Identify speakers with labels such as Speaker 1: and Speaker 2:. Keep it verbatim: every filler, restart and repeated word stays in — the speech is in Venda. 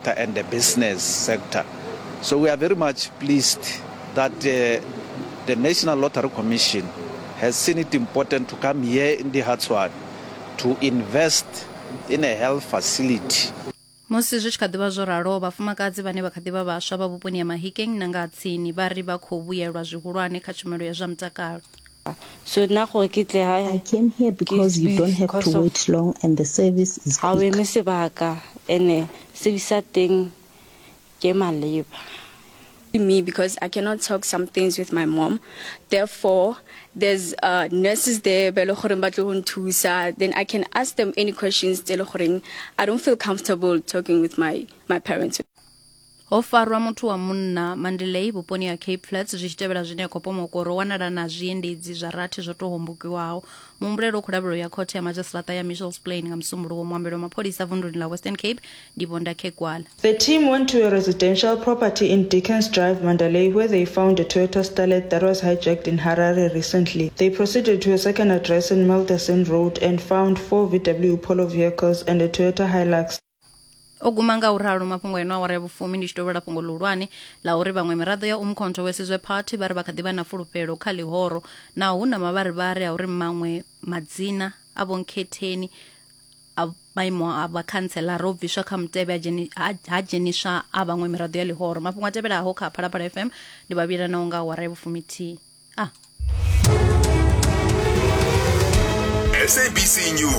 Speaker 1: sector and the business sector. So we are very much pleased that uh, the National Lottery Commission has seen it important to come here in the Dihutshwane to invest in a health facility.
Speaker 2: Musi zwi tshi kha ḓivha zwo ralo, vhafumakadzi vhane vha kha ḓivha vhaswa vha vhuponi ha Mahikeng na nga tsini vha ri vha khou vhuyelwa zwihulwane kha tshumelo ya zwa mutakalo.
Speaker 3: So nna gore ke tle
Speaker 4: I came here because you don't have to wait long and the service is
Speaker 3: ga o
Speaker 4: quick.
Speaker 3: eme sebaka ene service ya teng ke maleba.
Speaker 5: Me because I cannot talk some things with my mom. Therefore, there's uh, nurses there, ba e le goreng ba tlo go nthusa. Then I can ask them any questions tse e le goreng I don't feel comfortable talking with my, my parents.
Speaker 2: Ho farwa muthu wa munna Mandalay vhuponi ha Cape Flats zwi tshi tevhela zwine ya khou pomokwa uri o wanala na zwiendedzi zwa rathi zwo tou hombokiwaho. Muhumbulelwa u khou lavhelelwa ya khothe ya madzhisiṱiraṱa ya Mitchells Plain nga Musumbuluwo. Muambeli wa mapholisa vunduni ḽa Western Cape ndi Vho Ndakhe Gwala.
Speaker 6: The team went to a residential property in Dickens Drive, Mandalay, where they found a Toyota Starlet that was hijacked in Harare recently. They proceeded to a second address in Milderson Road and found four V W Polo vehicles and a Toyota Hilux.
Speaker 2: O guma nga u ralo mafhungo eno awara ya vhufumi ndi tshi tovhela fhungo ḽihulwane ḽa uri vhaṅwe miraḓo ya Umkhonto we Sizwe Party vha ri vha kha ḓi vha na fulufhelo kha ḽihoro na hu na mavharivhari a uri maṅwe madzina a Vho Nkhetheni a maimo a vhakhantselara o bviswa kha mutevhe ha dzheni- ha ha dzheniswa a vhaṅwe miraḓo ya ḽihoro. Mafhungo a tevhelaho kha Phalaphala F M ndi vhavhila naho nga awara ya vhufumithihi. Ah.
Speaker 7: S A B C News.